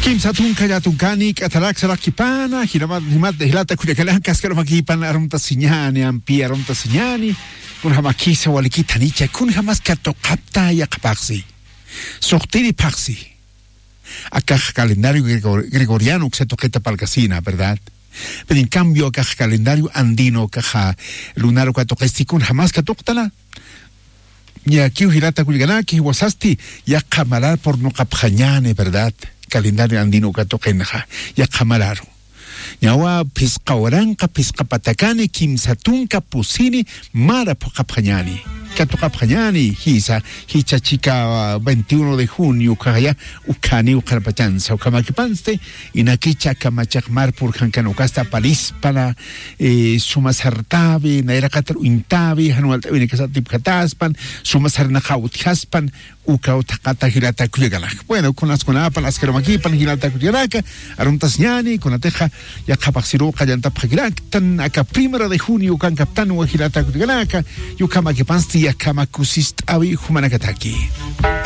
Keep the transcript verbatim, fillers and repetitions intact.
Kimsa tunka llatunkani k'atarak sarakipana, jilata kullakanaka askarumakipan arumtasiñani ampi arumtasiñani. Kunjamakisa walikitanicha kunjamas katuqapta yaqapaxsi, suqtiri phaxsi. Akax calendario gregoriano uksa tuqita palkasina, verdad? Pero en cambio akax calendario andino kaxa lunar uka tuqisti kunjamas katuqtana. Ñakiw jilata kullakanaki wasasti yaqha marar purnuqapxañani, verdad? Calendario andino uka tuqinxa yaqha mararu. Ñawa phisqa waranqa phisqa patakani kimsa tunka pusini mara phuqapxañani, katuqapxañani jisa. Jichachika veintiuno de junio ukhaya ukhaniw qharpachansa ukhamakipansti. Inakicha kamachaq mar purjankan ukasta palispana. Suma sartawi nayraqatar uñtawi jan walt'awinakasatipjataspan suma sarnaqaw utjaspan. Ukaw thaqata jilata kullakanaka bueno kunaskunapan askarumakipan jilata kullakanaka. Arumtasiñani kunatixa yaqhapaxsiruw qallantapxakiraktan aka primero de junio ukankaptanwa jilata kullakanaka. Yukhamakipansti yakhama kusist'awi jumanakataki.